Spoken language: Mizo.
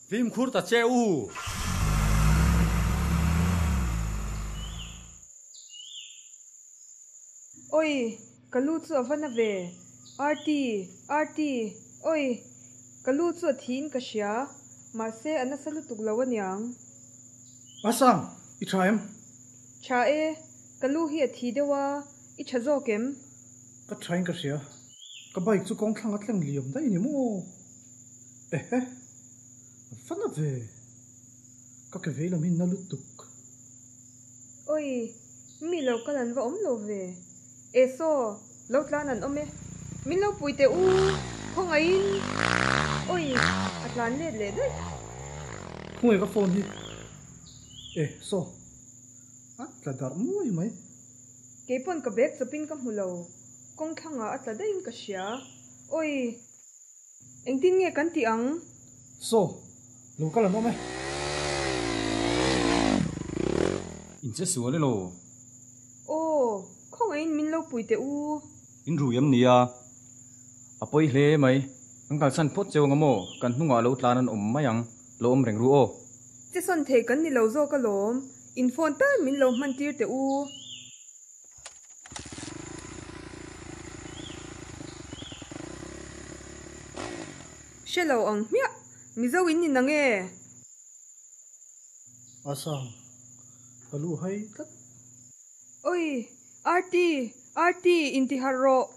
Fimkhur ta che u. Oi, ka lu chu a va na ve. Arti, Arti, oi, ka lu chu a thiin ka hria, mahse a nasa lutuk lo aniang. Asang, i tha em? Tha e, ka lu hi a thi deuh a, i tha zawk em? Ka thain ka hria, ka bike chu kawng thlang a tleng liam daih ni maw? Ehe, a va na ve, ka ke vei lam hi na lutuk. Oi, mi lo kal an va awm lo ve. E saw, lo tlan an awm e. Min lo pui teh u, khawngaihin. Oi, a tlan let leh daih. Khawngaih ka phone hi. E saw, a tla darh muai mai. Keipawn ka bag chawpin ka hmu lo, kawng thlangah a tla daihin ka hria. Oi. Engtin nge kan tih ang? Saw, lo kal an awm e. In che sual elo? Aw, khawngaihin min lo pui teh u. In rui em nia? A pawi hle mai. Kan kalsan phawt cheu ang a maw? Kan hnungah lo tlan an awm mai ang. Lo awm reng ru aw. Che sawn thei kan ni lo zawk alawm. In phone tal min lo hman tir teh u. Hre lo ang hmiah, Mizo in ni nang e? A sang, ka lu hai tlat. Oi, Arti, Arti, inti harh rawh.